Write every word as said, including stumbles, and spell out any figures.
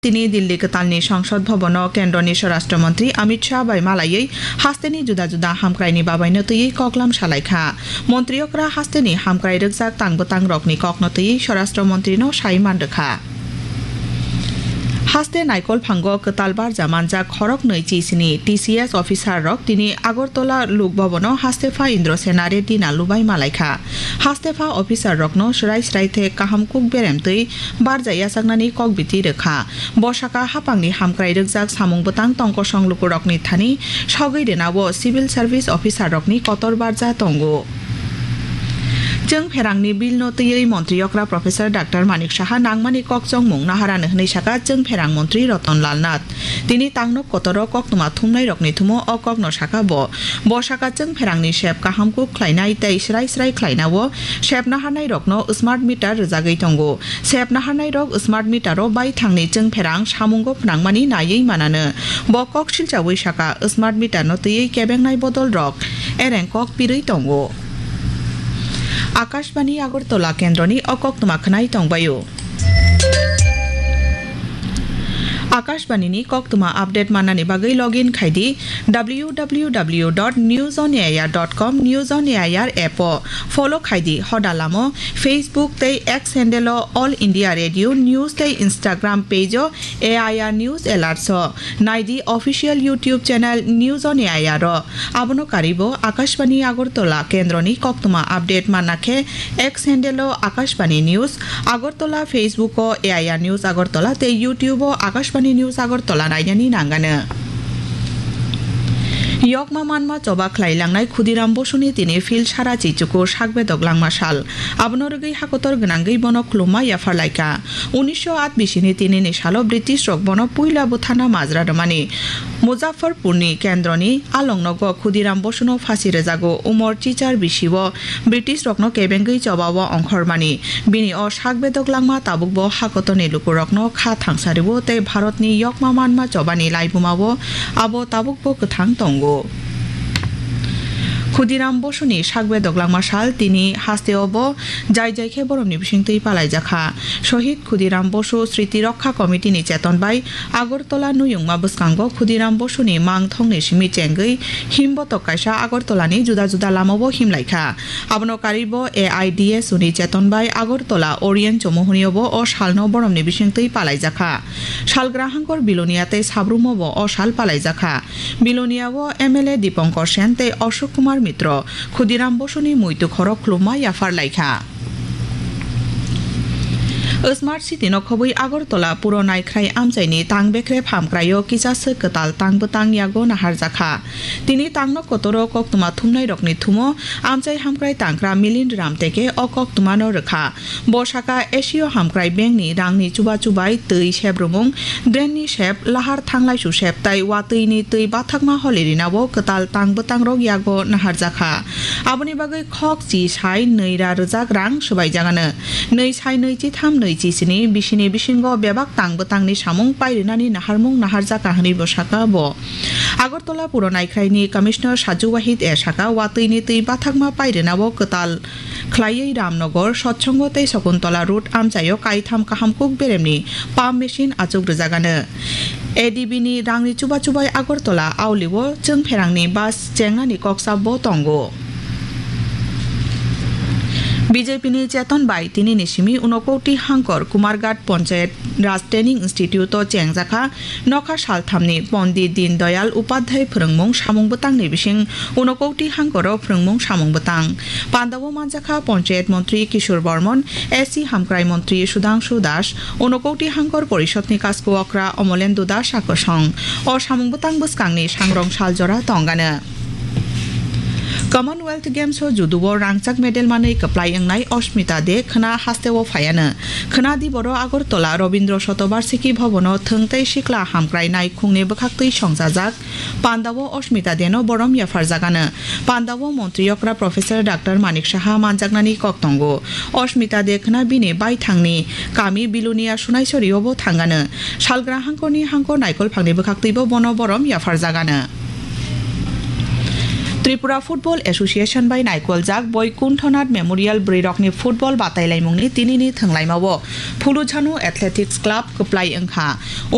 Tini Delhi kwtalni Sangsad Bhavan-o Kendroni Swarashtra Montri Amit Shah bai malaiwi hasteni juda juda hamkraini babaino twiwi koklam salaikha. Montri okra hasteni hamkrai rwkjak tang bwtang rokni kokno twiwi Swarashtra Montrino sai manrwkha. Haste Naikolphango kwtal barja manjak khoroknwi chisini T C S officer rok tini Agartala Lok Bhavan-o hastepha Indra Sena Reddy Nallu bai malaikha. Hastepha officer rokno swrai swrai the kaham kuk berem twi barja yachaknani kok biti rwkha. Bo saka hapangni hamkrai rwkjak samung bwtang tongkosong lukurokni thani sogwi rwnao civil service officer rokni kotor barja tongo. Chwng pherangni bill no twiwi montri okra Professor Doctor Manik Saha nangmani kok chongmung naharani hwnwi saka chwng pherang montri Ratan Lal Nath. Tini tangno kotoro koktwma thumnairokni thumo o kokno saka bo. Bo saka chwng pherangni sep kaham kuk khlainai tei srai srai khlainao sep naharnairokno smart meter rwjagwi tongo. Sep naharnairok smart meter-o baithangni chwng pherang samungo phnangmani naiwi manano. Bo kok silchawi saka, smart meter-no twiwi kebengnai bodolrok ereng kok pirwi tongo. Akashbani Agartala kendroni o koktwma khwnai tongbaio. Akashbani ni koktwma update mannani bagwi login khai di W W W dot news on air dot com, News on Air app o follow khai di, hoda lamo Facebook tei X handle o All India Radio News tei Instagram page o A I R News Alerts o nai di, official YouTube channel News on A I R o. Abono karwi bo Akashbani Agartala kendroni koktwma update manna khe X handle o Akashbani News Agartala, Facebook o A I R News Agartala tei YouTube o Akashbani News Agartala nainani nangano. Yokma manma choba khlai langnai Khudiram Bosuni tini phil sara chichuku sak bedok langma sal. Abono rwgwi hakotor gwnangwi bono khulumma yaphar laikha. Unisho at bisini tinini salo British rok bono puila bwthana majra rwmani. Muzaffarpurni kendroni alongnogo Khudiram Bosuno phasi rwjago. Umor chichar bisio British rokno kebengwi chobao ongkhormani. Bini o sak bedok langma tabukbo hakotorni lukurokno kha thangsario tei Bharatni yokma manma chobani laibumao abo tabukbo kwthang tongo. Khudiram Bosuni sak bedok langma sal tini hasteo bo jai jai khe boromni bisingtwi palaijakha. Shohid Khudiram Bosu Sriti Rokha Committee ni cheton bai Agartala nuyungma bwskango Khudiram Bosuni mang thongni simi chengwi himbotok kaisa Agartala ni juda juda lamao himlaikha. Abono karwi bo A I D S U ni cheton bai Agartala Orient Chomuhunio bo o salno boromni bisingtwi palaijakha. Salgrahangkor Bilonia tei Sabrumo bo o sal palaijakha. Bilonia o M L A Dipankar Sen tei Ashok Kumar Mitro Khudiram Bosuni muitu khorok khulumma yaphar laikha. Smart City no khobwi Agartala puro naikhrai amchaini tang bekrep hamkraio kisa swk kwtal tang bwtang yago naharjakha. Tini tangno kotoro koktwma thumnairokni thumo amchai hamkrai tangkra Milind Ram Teke o koktwmano rwkha. Bo saka Asia hamkrai bengni rangni chuba chubai twi sebrumung, drainni sep, lahar thanglaisu sep tai watwini twi bathakma holirinao kwtal tang bwtangrok yago naharjakha. Aboni bagwi khok chi sai nwi ra rwjak rang swbaijagano. Nwi sai nwi chi tham nwi chi sini bisini bisingo bebak tang bwtangni samung pairinani naharmung naharjakha hwnwi bo saka bo. Agartala puro naikhraini Commissioner Saju Wahid e saka watwini twi bathakma pairinao kwtal khlaiwi Ramnagar, Sotsongo tei Sakuntala road amchaio kaitham kaham kuk beremni pump machine achuk rwjagano. A D B ni rangni chuba chubai Agartala aulio chwng pherangni bus chengnani koksa bo tongo. B J P ni cheton bai tinini simi Unakoti Hangkor Kumarghat Panchayat Raj Training Institute o chengjakha nokha salthamni Pondit Din Dayal Upadhyay phwrwngmung samung bwtangni bising Unakoti Hangkoro phwrwngmung samung bwtang. Pandao manjakha Panchayat Montri Kishore Bormon, S C Hamkrai Montri Sudhangshu Das, Unakoti Hangkor Porishodni Kasko Okra Omolendu Das Akosong. O samung bwtang bwskangni sangrong saljora tongano. Commonwealth Games o judo o rangchak medal manwi kwplai wngnai Ashmita De khwna hasteo phaiano. Khwna diboro Agartala Rabindra Shatobarshiki Bhavan o thwng tei sikla hamkrai naikhungni bwkhaktwi songchajak. Pandao Ashmita Deno borom yapharjagano. Pandao montri okra Professor Doctor Manik Saha manjaknani kok tongo. Ashmita De khwna bini baithangni kami Bilonia Sunaisori obo thangano. Salgra hangkorni hangkor naikolphangni bwkhaktwibo bono borom yapharjagano. Tripura Football Association bai naikoljak Boikunthonath Memorial bwrwirokni football batailaimungni tinini thwnglaimao Phulujhanu Athletics Club kwplai wngkha.